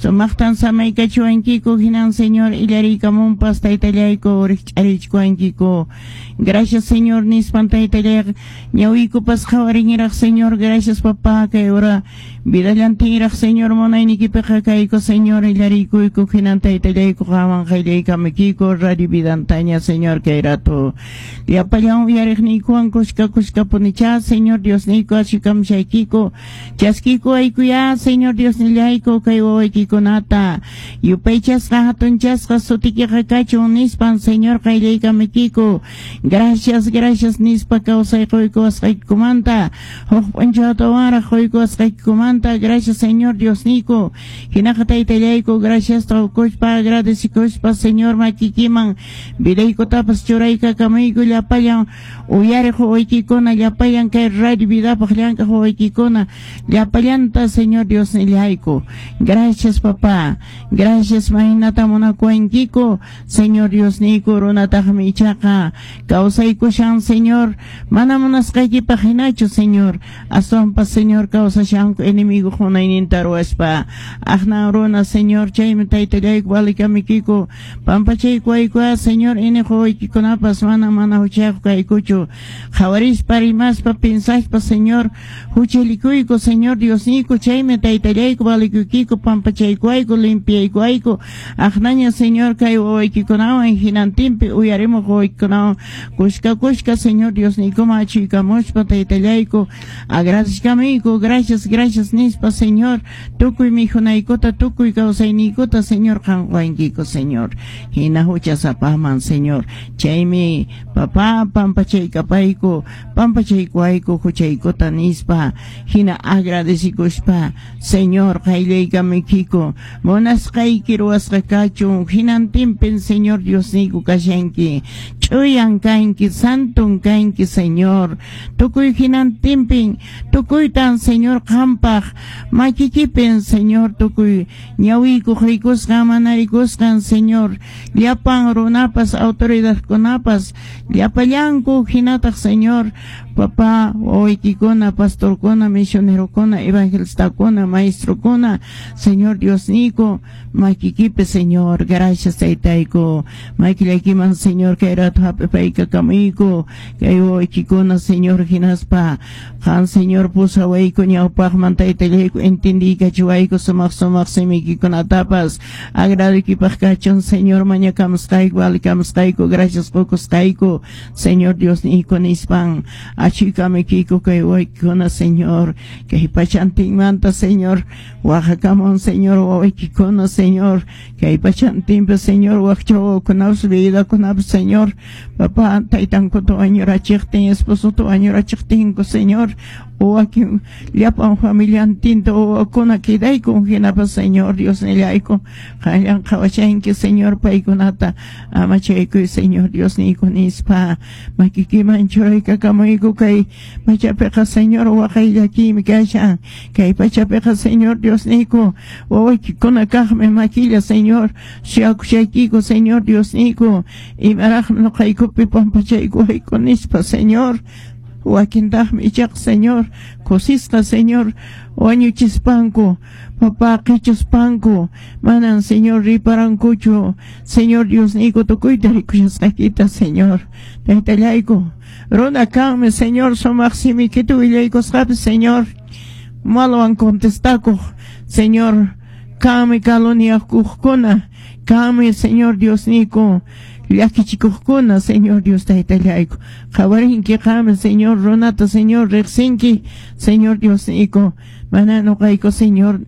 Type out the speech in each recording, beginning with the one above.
Sumaqtan samaykachiwankiku hinan, Señor, illariykamunpas taytallayku rikch'arichkuwankiku. Gracias, Señor, nispan taytallay ñawiykupas qhawariniraq, Señor. Gracias, papá, kay hora vidallantinraq, Señor, munaynikipiqa kayku, Señor, illariykuyku hinan taytallayku qanman qayllaykamukiku Radio Vidantaña, Señor, kay rato. Llapallan uyariqniykuwan kuska kuskapunichá, Señor Diosniyku, ashukamushaykiku. Chaskiykuwaykuyá, Señor Diosnillayku, kay wawaykikunata. Yupaychasqa hatunchasqa sutikiqa kachun nispan, Señor, qayllaykamukiku. Gracias, gracias nispa kawsay quykuwasqaykikumanta, huk p'unchawtawanraq quykuwasqaykikumanta, gracias, Señor Diosniyku. Hinaqa taytallayku, graciasta qukuspa, agradecikuspa, Señor, makikiman vidaykutapas churaykakamuyku llapallan uyariq wawaykikuna, llapallan kay Radio Vidapaq llank'aq wawaykikuna, llapallanta, Señor Diosnillayku. Gracias, papá. Gracias, maynata munakuwankiku, Señor Diosniyku. Runataqmi ichaqa kawsaykushan, Señor, mana munasqaykipaq hinachu, Señor. Aswanpas, Señor, kawsashanku enemigo munayninta ruwaspa. Aqnan runa, Señor, chaymi taytallayku valikamuykiku. Pampachaykuwaykuá, Señor, iniq wawaykikunapas mana mana huchayuq kaykuchu. Qhawarispa, rimaspa, pensaspa, Señor, huchallikuyku, Señor Diosniyku, chaymi taytallayku valikuykiku, pampachaykuwayku, limpiaykuwayku. Aqnaña, Señor, kay wawaykikunawan hinantinpi uyarimuq wawaykikunawan kuska kuska, Señor Diosniykuman achuykamuspa taytallayku agradecikamuyku. Gracias, gracias nispa, Señor, tukuy mikhunaykuta, tukuy kawsayniykuta, Señor, qan qowankiku, Señor. Hina huchasapaman, Señor. Chaymi, papá, pampachaykapayku, pampachaykuwayku huchaykuta nispa, hina agradecikuspa, Señor, qayllaykamuykiku. Munasqayki ruwasqa kachun hinantinpin, Señor Diosniyku, kashanki. Ch'uyan kanki, santon kanki, Señor. Tukuy hinantinpin, tukuytan, Señor, qampaq makikipin, Señor, tukuy ñawiykuq rikusqan, mana rikusqan, Señor, llapan runapas, autoridadkunapas, llapallanku hinataq, Señor, papá, wawaykikuna, pastorkuna, misionerokuna, evangelistakuna, maestrokuna, Señor Diosniyku, makikipi, Señor. Gracias, taytayku. Makillaykiman, Señor, kay rato hap'ipaykakamuyku kay wawaykikuna, Señor, hinaspa qan, Señor, pusawayku ñawpaqman, taytallayku, entendiykachiwayku sumaq sumaq simiykikunatapas. Agradoykipaq kachun, Señor, mañakamusqayku, valikamusqayku, gracias qukusqayku, Señor Diosniyku nispan achuykamuykiku kay wawaykikuna, Señor, kay pachantinmanta, Señor, waqakamun, Señor, wawaykikuna, Señor, kay pachantinpi, Señor, wakcha wawakunapas, viudakunapas, Señor, papá, taytankuta wañurachiqtin, esposota wañurachiqtinku, Señor, wakin llapan familiantinta wawakuna quedaykun hinapas, Señor Diosnillayku, qanllan qhawashanki, Señor, paykunata amachaykuy, Señor Diosniyku nispa makikiman churaykakamuyku. Kay pachapiqa, Señor, waqay llakiymi kashan kay pachapiqa, Señor Diosniyku. Wawaykikuna kaqmi makilla, Señor, suyakushaykiku, Señor Diosniyku, imaraqmi ñuqaykupi pampachaykuwayku nispa, Señor. Wakintaqmi ichaqa, Señor, kusisqa, Señor, wañuchispanku, papá, qichuspanku, manan, Señor, riparankuchu, Señor Diosniyku, tukuyta rikushasqaykita, Señor. Taytallayku, runa kanmi, Señor, sumaq simikita willaykusqapi, Señor, malwan contestakuq, Señor, kanmi caluniakuqkuna, kanmi, Señor Diosniyku, llakichikuqkuna, Señor Dios taytallayku. Qhawarinki qanmi, Señor, runata, Señor, riqsinki, Señor Diosniyku. Mana ñuqayku, Señor,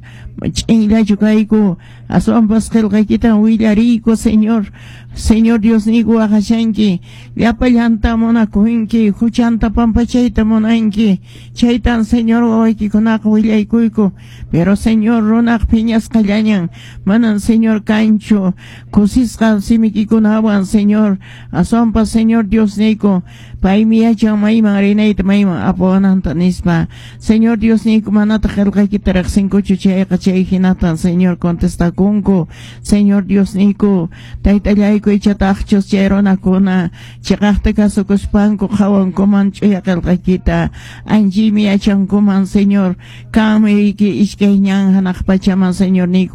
ch'inllachu kayku, aswanpas qillqaykitan willariyku, Señor. Señor Diosniyku, waqashanki, llapallanta munakunki, huchanta pampachayta munanki, chaytan, Señor, wawaykikunaqa willaykuyku. Pero, Señor, runaq phiñasqallañan, manan, Señor, kanchu kusisqa simikikunawan, Señor. Aswanpas, Señor Diosniyku, paymi yachan mayman rinayta, mayman apawananta nispa. Señor Diosniyku, manataq qillqaykita riqsinkuchu chayqa, chay hinatan, Señor, contestakunku. Señor Diosniyku, taytallayku, ichataqchus chay runakuna chiqaqta kasukuspanku qhawankuman ch'uya qillqaykita, anchaymi yachankuman, Señor, kanmi riki iskay ñan hanaq pachaman, Señor niyku.